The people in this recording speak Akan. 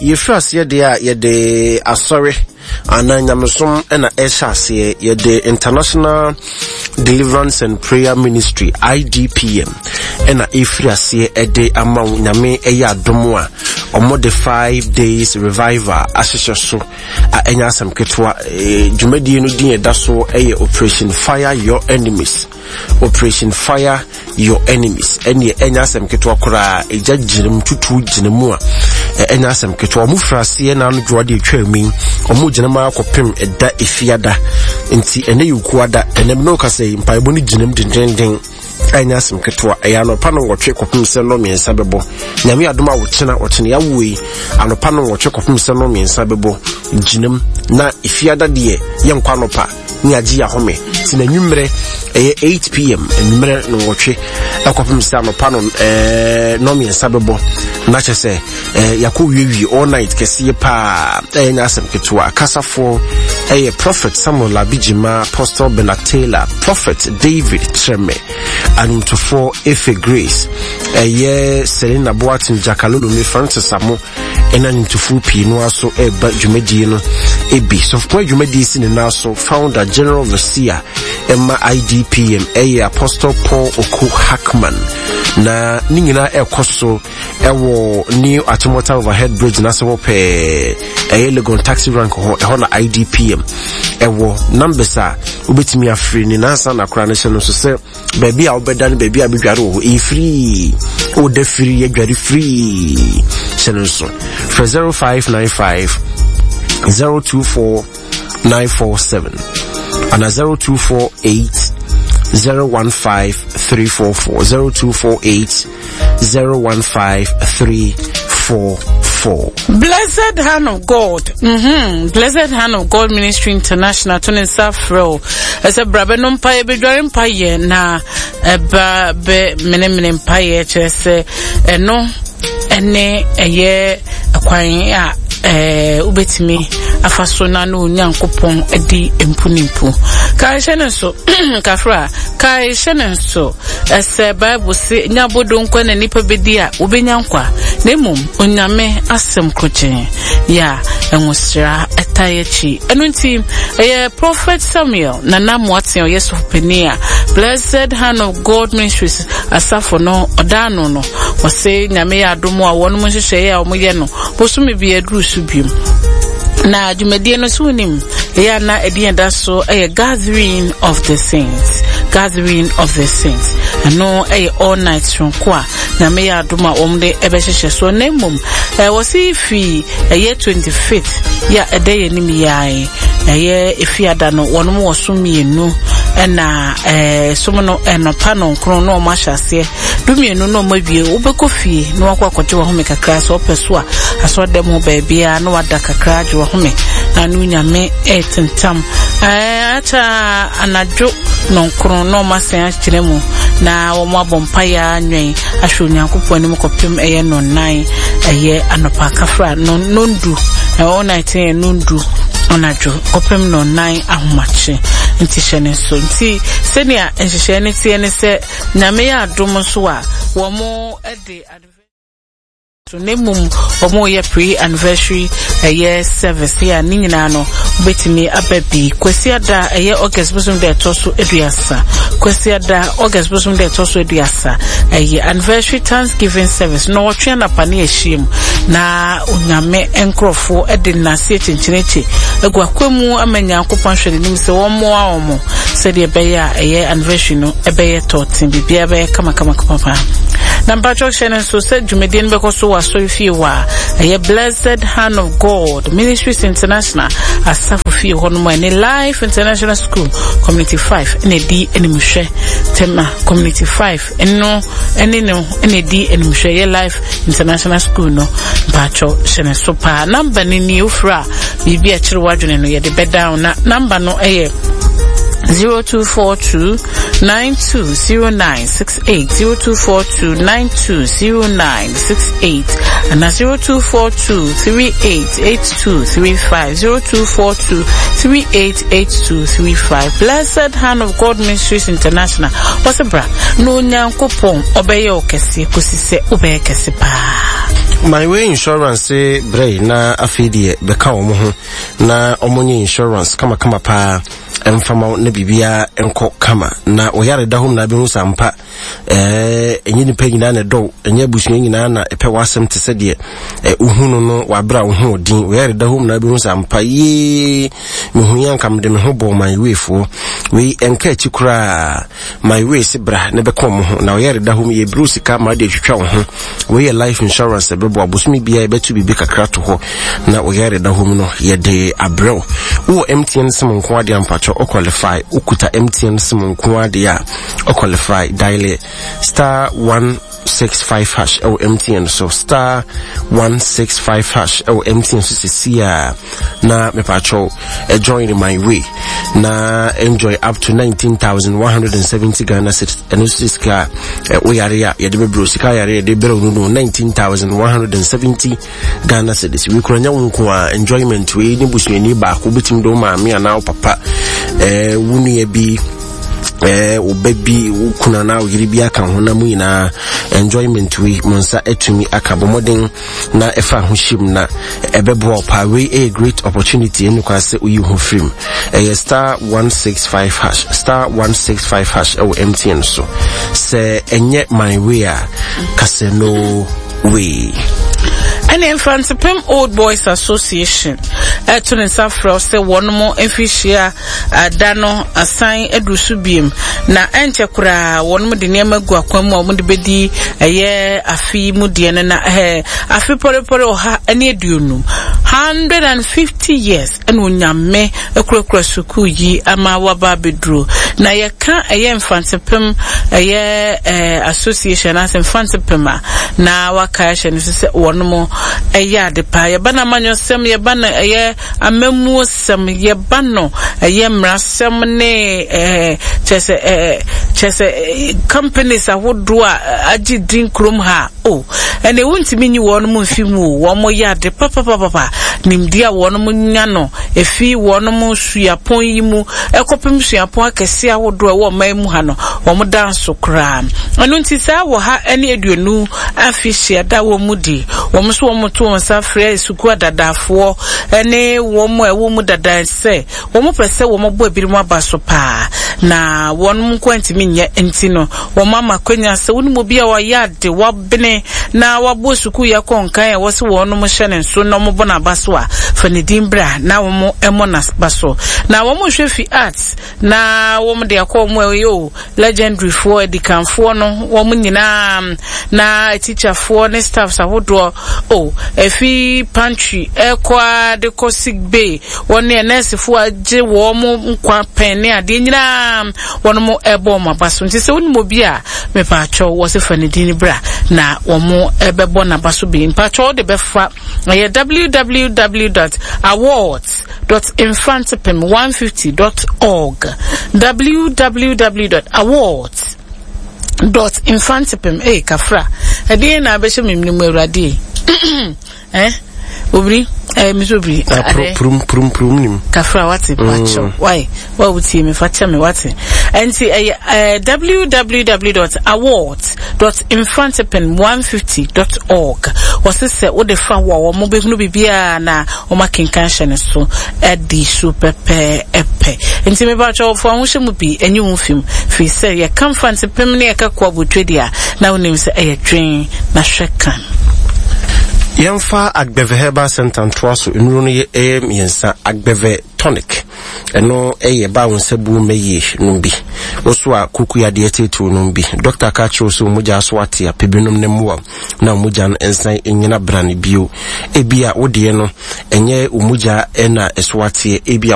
Yɛfiri aseɛ deɛ a yɛde asɔre anaa nyamesom na ɛhyɛ aseɛ. Yɛde International Deliverance and Prayer Ministry IDPM ɛna ɛfiri aseɛ ɛde ama wo. Nyame ɛyɛ adom a wɔde 5 days revival ahyehyɛ so a ɛnyɛ asɛm ketewa. Dwumadie no din ɛda so ɛyɛ Operation Fire Your Enemies. Operation Fire Your Enemies. Ɛneɛ ɛnyɛ asɛm ketewa koraa. Ɛgya gyina mu, tutuo gyina mu a ɛnyɛ asɛm ketewa. Ɔmo firi aseɛ na ano dwoa deɛ atwa mu yi. Ɔmo gyina mu akɔpem ɛda efiada. Nti ɛnɛ yɛ okuada. Ɛnɛ mi na ɔkasa yi mpaebɔ no gyina mu dendenden. Ɛnyɛ asɛm ketewa. Ɛyɛ anɔpa no nwɔtwe kɔpem sɛ nnɔ mmiɛnsa bɛbɔ. Nyame adom a wɔkyena wɔkyena yɛawo yi anɔpa no nwɔtwe kɔpem sɛ nnɔ mmiɛnsa bɛbɔ gyina mu. Na efiada deɛ yɛnkɔ anɔpa. Ne agye yɛ ahome nti na anwummerɛ ɛyɛ 8pm anwummerɛ no nwɔtwe ɛkɔpem sɛ anɔpa no ɛɛ nɔmmiɛnsa bɛbɔ na kyɛ sɛ ɛɛ yɛakɔ wiewie all night kɛseɛ paa. Ɛyɛ nyɛ asɛm ketewa. Akasafoɔ ɛyɛ Prophet Samuel Abijima, Apostle Bernard Taylor, Prophet David Treme, anwomtofoɔ Efe Grace, ɛyɛ Selina Boateng, Jakalolome, Francis Amo, ɛna nnwomtofoɔ pii no aso ɛreba dwumadie no ebi. Sɔfopɔn dwumadie si ne nan so. Founder General Overseer ɛma IDPM ɛyɛ Apostle Paul Oko Hackman, na ne nyinaa ɛrekɔ so ɛwɔ New Achimota Overhead Bridge n'ase hɔ pɛɛ, ɛyɛ Legon Taxi Rank hɔ, ɛhɔ na IDPM ɛwɔ. Numbers a wobɛtumi afiri ne nansa na koraa no hyɛ no nso sɛ baabi a wobɛda no, baabi a bɛdware wɔ hɔ ɛyɛ firii, woda firi yɛdware firii. Hyɛ no nso frɛ 0595 024 947 ana 0248 015 344, 0248 015 344. Blessed Hand of God, Blessed Hand of God Ministry International to ne nsa frɛ o ɛsɛ bra bɛno mpaeɛ, bɛdware mpaeɛ na ɛba bɛ menemene mpaeɛ, kyerɛ sɛ ɛno ɛne ɛyɛ ɛkwan a ɛɛ wobɛtumi afa so na ne Onyankopɔn adi mpunimpu. Kae hyɛ ne nso kafra, kae hyɛ ne nso ɛsɛ Bible se nya abodo nkwa na nipa bɛdi a wobɛnya nkwa, na mmom Onyame asɛm krogyee yɛ a nwosra ɛtae akyi. Ɛno nti ɛyɛ Prophet Samuel Nana Moateng, ɔyɛ sɔfopanin a Blessed Hand of God Ministries asafo no ɔda ano no, wɔse Nyame yɛ adom a wɔnom nhyehyɛeɛ a wɔyɛ no bosome bi aduru so biom. Na dwumadie no so wonim ɛyɛ a na ɛde yɛn da so ɛyɛ Gathering of the Saints, Gathering of the Saints. Ɛno ɛyɛ all night soronko a Nyame yɛ adom a wɔn de ɛbɛhyehyɛ so. Na mmom ɛwɔ se fi ɛyɛ 25th yɛ a ɛda yɛn anim yi ara yi, ɛyɛ efiada no, wɔn wɔ so mmienu, ɛna ɛɛ som no ɛnɔpa no nkron na wɔn ahyɛ aseɛ, 12 na wɔn awie. Wobɛkɔ fie na wakɔ akɔgye wɔn home kakra, sɛ ɔpɛ so a asɔrɔdɛm hɔ baabiara na wada kakra agye wɔn home na no Nyame ɛretentam ɛɛ akyɛ anadwo nɔnkron na wɔn asan akyerɛ mu na wɔn abɔ mpaeɛ anwɛn ahwɛ Onyankopɔn anim kɔpem ɛyɛ nɔnnan ɛyɛ anɔpa kafra nondu, ɛwɔ night yɛ nondu anadwo kɔpem nɔnnan ahomakye. Nti hyɛ ne nso nti sɛnea nhyehyɛɛ no teɛ ne sɛ Nyame yɛ adom nso a wɔn de so, na mmom wɔn yɛ pre-anniversary ɛyɛ service yɛ a ne nyinaa no wobɛtumi aba bi. Kwasiada ɛyɛ August bosom da ɛtɔ so 30, Kwasiada August bosom da ɛtɔ so 30 ɛyɛ anniversary thanksgiving service na wɔtwe anapa ne ahyia mu na Onyame nkurɔfoɔ ɛde nnaseɛ kyenkyenekye agu akwa mu ama Nyankopɔn ahwɛ n'anim sɛ wɔn mmoa wɔn sɛdeɛ ɛbɛyɛ a ɛyɛ anniversary no ɛbɛyɛ tɔɔten, biribiara bɛyɛ kamakamakama paa. Na mpakyɛw hyɛ no nso sɛ dwumadie no bɛkɔ so wɔ asɔre fie hɔ a ɛyɛ Blessed Hand of God Ministries International asafo fie hɔ nom a ɛne Life International School Community 5 ɛna ɛdi animhwɛ, Tema Community 5 ɛno ɛne no ɛna ɛdi animhwɛ, ɛyɛ Life International School no. Mpakyɛw hyɛ no so paa. Namba no nie, wofrɛ a biribi a ɛkyerɛ w'adwene no yɛde bɛdan na namba no ɛyɛ 0242 920968, 0242 920968 ana 0242 388235, 0242 388235. Blessed Hand of God Ministries International wɔsɛ bra na Onyankopɔn ɔbɛyɛ wo kɛseɛ kɔsi sɛ wobɛyɛ kɛse paa. My Way Insurance brɛ na afei deɛ bɛka wɔn ho na wɔn nyɛ insurance kamakama paa mfama na biribiara nkɔ kama na wɔyare da hɔ na abɛhu sɛ ampa ɛɛ ɛnyɛ nipa nyinaa na ɛdɔw ɛnyɛ abusua nyinaa na ɛpɛ w'asɛm te sɛ deɛ wohu no no w'abrɛ a wo ho ɔden wɔyare da hɔ na abɛhu sɛ ampa yie mehu yɛ anka mede me ho bɔɔ my way foɔ wei ɛnka akyi koraa. My way se bra na bɛka wɔn ho na ɔyɛ reda hɔ mu yɛbrɛ sika ma de atwitwa wo ho. Wei yɛ life insurance ɛbɛboa bosome biara yɛbɛto biribi kakra to hɔ na ɔyɛ reda hɔ mu no yɛde abrɛ wo. Wowɔ MTN sim nko adeɛ ampakyɛ o qualify. Wokuta MTN sim nko adeɛ a o qualify. Dial star 165 hash ɛwɔ MTN so star 165 hash ɛwɔ MTN so sisi a na mepakyɛw join my way na enjoy up to 19,170 Ghana cedis ɛno nso sika a woyare a yɛde bɛbrɛ sika yare yɛde brɛ no no 19,170 Ghana cedis wei kura nya wo nko a enjoyment wei ne busuani baako wobɛtumi de wo maame anaa wo papa wo nua bi wo ba bi wo kunu anaa wo yere bi aka ho na mu nyinaa enjoyment wei mo nsa atumi aka bɔ mmɔden na ɛfa ho hyim na ɛbɛboa wo paa. Wei ɛyɛ great opportunity ɛnu kwan sɛ woyi ho firim. Ɛyɛ star 165 hash star 165 hash ɛwɔ MTN so. Sɛ ɛnyɛ my way a kasɛ no way. Ɛne Mfantepem Old Boys Association ɛto ne nsa frɛ sɛ wɔn mo mfirihyia Da no asan aduru so biem, na ɛnkyɛ koraa wɔn de nneɛma gu akwan mu a wɔde bedi ɛyɛ afe yi mu deɛ no na ɛɛ afe pɔrepɔre 150, 150 years, ɛna Onyame akurakura sukuu yi ama waba abɛduro. Na yɛka ɛyɛ Mfantsipim ɛyɛ ɛɛ association anaasɛ Mfantsipim a, na waka ahyɛ no so sɛ wɔn ɛyɛ ade paa. Yɛba no amanyɔsɛm, yɛba no ɛyɛ amammuosɛm, yɛba no ɛyɛ mmarasɛm ne ɛɛ kyerɛ sɛ ɛɛ kyerɛ sɛ companies ahodoɔ a agye din kurom ha o oh, ɛnna wontumi nyi wɔn mu mfi mu o, wɔn yɛ ade papapapapa. Nimdeɛ a wɔn nya no efi wɔn suapɔn yi mu ɛkɔpem suapɔn akɛseɛ ahodoɔ ɛwɔ ɔman mu ha no, wɔn da nso koraa. Ɛno nti saa wɔ ha ɛne 50 afe hyia da wɔn mu di. Wɔn nso wɔn to wɔn nsa frɛ sukuu adadaafoɔ ne wɔn a ɛwɔ mu dada sɛ wɔn pɛ sɛ wɔn bɔ ebinom aba so paa na wɔn nko ntumi nyɛ nti no wɔn ama kwanya sɛ wɔn mu bi a wɔayɛ ade wabene na wabɔ sukuu yɛ kɔ nkan a wɔsi wɔn hyɛ ne nso na wɔn bɔ n'aba so a fa ne din bra na wɔn mmɔ n'aba so na wɔn hwɛ fi arts na wɔn de akɔ wɔn a ɛyɛ o Legendary foɔ, adikanfoɔ no, wɔn nyinaa, na atikyafoɔ ne staffs ahodoɔ, oh, ɛfi pantry ɛkɔ ara de kɔ sick bay, wɔn ne nɛɛsefoɔ agye wɔn nkwa pɛn ne adeɛ nyinaa, wɔn mo ɛbɔ wɔn aba so. Nti sɛ wonim obi a, mepaakyɛw, wɔ se fa ne din bra, na wɔn ɛbɛbɔ n'aba so bi. Mpaakyɛw wode bɛfa, ɛyɛ www dot awards. dot mfantepem 150 dot org www dot awards dot mfantepem ee kafra ɛdeɛ na abɛhyɛ me mu awurade eh obiri eh mi so obiri ade prum prum prum nim kafra wate pakyɛw mm. why wa wutie me fa kyɛ me wate ɛnti ɛyɛ eh, www dot awards dot mfantepem 150 dot org wɔse sɛ wode fa hɔ a wɔn bɛhunu biribiara na wɔn akenkan hyɛ ne so adi so pɛpɛɛpɛ. Nti mepakyɛw fa wo ho hyɛ mu bi, ɛnyi wo mfi mu, firi sɛ yɛka Mfantsipim ne yɛka Koabotwe deɛ a, na wonim sɛ ɛyɛ dwen na hwɛ kan. Yɛmfa Agbeve Herbal Center ntoa so. Nnuro no yɛ ɛyɛ mmiɛnsa. Agbeve Tonic, ɛno ɛyɛ ba wo nsa buo mma yie, nom bi. Wo so a kuku yadeɛ teetee nom bi. Dɔkta ka kyerɛ wo sɛ wo mogya so ate a, pɛ bi nom na mmoa wo na wo mogya no nsan nnyina brane bio. Ebia wo deɛ no, ɛnyɛ wo mogya na ɛso ateɛ, ebia.